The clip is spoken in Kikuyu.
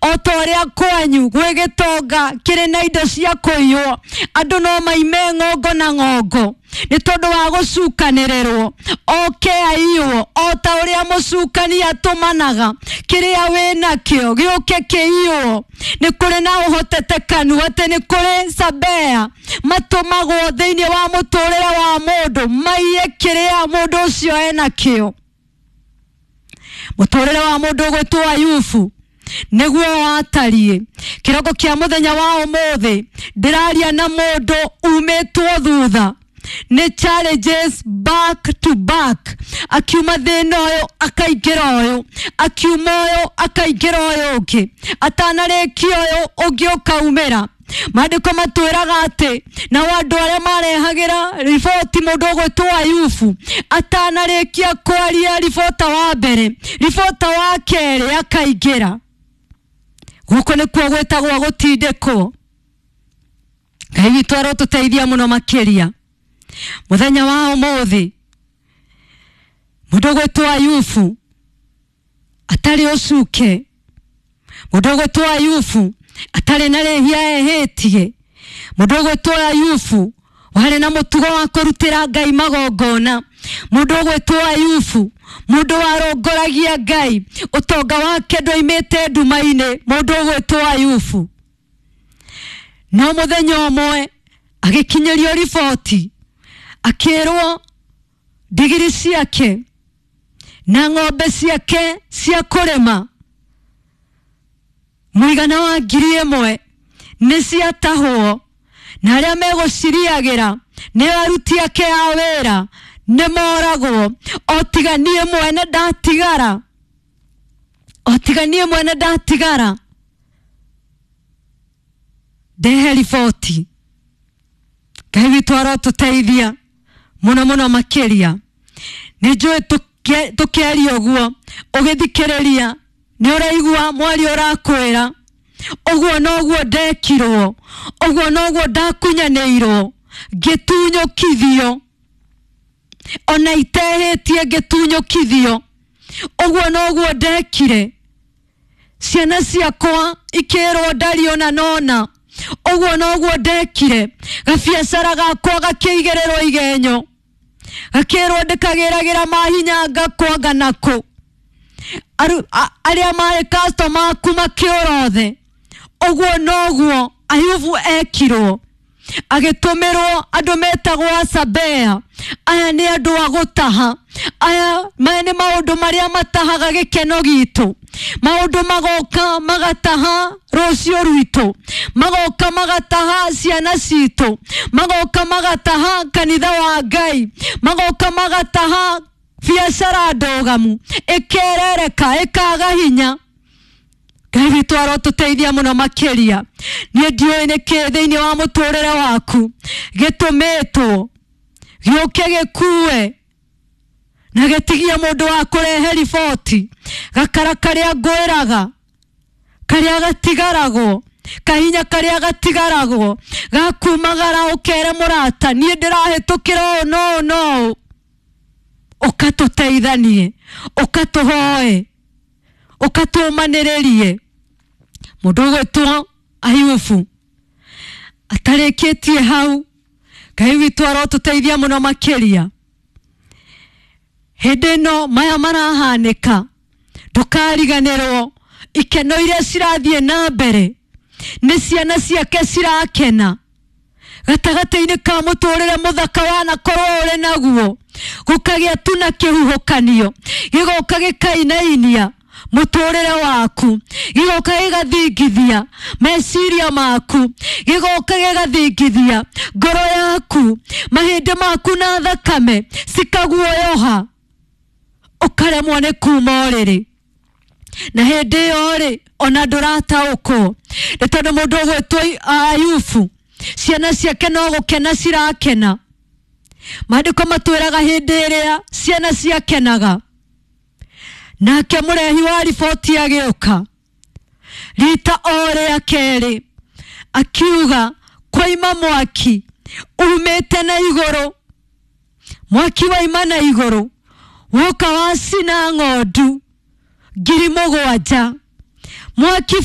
O ta ũrĩa kwanyu gwĩ gĩtonga kĩrĩ na indo cia kũiywo, andũ no maime ng'ongo na ng'ongo nĩ tondũ wa gũcukanĩrĩrwo. Oke aiywo o ta ũrĩa mũcukani atũmanaga kĩrĩa wĩnakĩo gĩũke kĩiywo. Nĩ kũrĩ na ũhotetekanu atĩ nĩ kũrĩ Sabea matũmagwo thĩinĩ wa mũtũrĩre wa mũndũ maiye kĩrĩa mũndũ ũcio enakĩo. Mũtũrĩre wa mũndũ ũgwĩtwo Ayubu nĩguo watariĩ. Kĩroko kĩa mũthenya wa ũmũthĩ ndĩraria na mũndũ umĩtwo thutha nĩ challenges back to back, akiuma thĩna ũyũ akaingĩra ũyũ, akiuma ũyũ akaingĩra ũyũ ũngĩ, atanarĩkia ũyũ ũngĩ ũkaumĩra. Maandĩko matwĩraga atĩ nao andũ arĩa marehagĩra riboti mũndũ ũgwĩtwo Ayubu atanarĩkia kwaria ribota wa mbere, ribota wa kerĩ akaingĩra. Gũkũ nĩkuo gwĩtagwo gũtindĩkwo. Ngai witũ arotũteithia mũno makĩria. Mũthenya wa ũmũthĩ mũndũ ũgwĩtwo Ayubu atarĩ ũcuke, mũndũ ũgwĩtwo Ayubu atarĩ na rĩhia ehĩtie, mũndũ ũgwĩtwo Ayubu warĩ na mũtugo wa kũrutĩra Ngai magongona, mũndũ ũgwĩtwo Ayubu mũndũ warongoragia Ngai, ũtonga wake ndwoimĩte nduma-inĩ, mũndũ ũgwĩtwo Ayubu. No mũthenya ũmwe agĩkinyĩrio riboti akĩrwo ndigiri ciake na ng'ombe ciake cia kũrĩma mũigana wa 1,000 nĩ ciatahwo, na arĩa megũciriagĩra nĩ aruti ake a wĩra nĩ moragwo, o tiga niĩ mwene ndatigara, o tiga niĩ mwene ndatigara ndehe riboti. Ngai witũ arotũteithia mũno mũno makĩria. Nĩ njũĩ tũkĩaria ũguo ũgĩthikĩrĩria nĩ ũraigua mwaria ũrakwĩra ũguo noguo ndekirwo, ũguo noguo ndakunyanĩirwo, ngĩtunyũkithio ona itehĩtie, ngĩtunyũkithio, ũguo noguo ndekire, ciana ciakwa ikĩrwo ndari ona nona, ũguo noguo ndekire, gabiacara gakwa gakĩigĩrĩrwo igenyo, gakĩrwo ndĩkagĩragĩra mahinya ngakwanga nakũ, arĩa marĩ customer aku makĩũra othe. Ũguo noguo Ayubu ekirwo, agĩtũmĩrwo andũ metagwo Asabea. Aya nĩ andũ a gũtaha, aya maya nĩ maũndũ marĩa matahaga gĩkeno gitũ, maũndũ magoka magataha rũciũ rwitũ, magoka magataha ciana citũ, magoka magataha kanitha wa Ngai, magoka magataha biacara ndũgamu ĩkerereka ĩkaga hinya. Ngai witũ arotũteithia mũno makĩria. Niĩ ndiũĩ nĩkĩ thĩinĩ wa mũtũrĩre waku gĩtũmĩtwo gĩũke gĩkue na gĩtigie mũndũ wa kũrehe riboti, gakara karĩa ngwĩraga karĩa gatigaragwo, kahinya karĩa gatigaragwo gakumagara ũkere mũrata niĩ ndĩrahĩtũkĩra ũũ na ũũ na ũũ, ũkatũteithanie, ũkatũhoe, ũkatũmanĩrĩrie. Mũndũ ũgwĩtwo Ayubu atarĩkĩtie hau, Ngai witũ arotũteithia mũno makĩria. Hĩndĩ ĩno maya marahanĩka, ndũkariganĩrwo ikeno iria cirathiĩ na mbere nĩ ciana ciake cirakena gatagatĩ-inĩ ka mũtũrĩre mũthaka wanakorwo ũrĩ naguo, gũkagĩa tu na kĩhuhũkanio gĩgoka gĩkainainia mũtũrĩre waku, gĩgoka gĩgathingithia meciria maku, gĩgoka gĩgathingithia ngoro yaku, mahĩndĩ maku na thakame cikaguoyoha, ũkaremwo nĩ kuma ũrĩrĩ. Na hĩndĩ ĩyo rĩ ona ndũrataũkwo nĩ tondũ mũndũ ũgwĩtwo Ayubu ciana ciake no gũkena cirakena. Maandĩko matwĩraga hĩndĩ ĩrĩa ciana ciakenaga, nake mũrehi wa riboti agĩũka rita o rĩa kerĩ akiuga kwaima mwaki umĩte na igũrũ, mwaki waima na igũrũ woka wacina ng'ondu 7,000, mwaki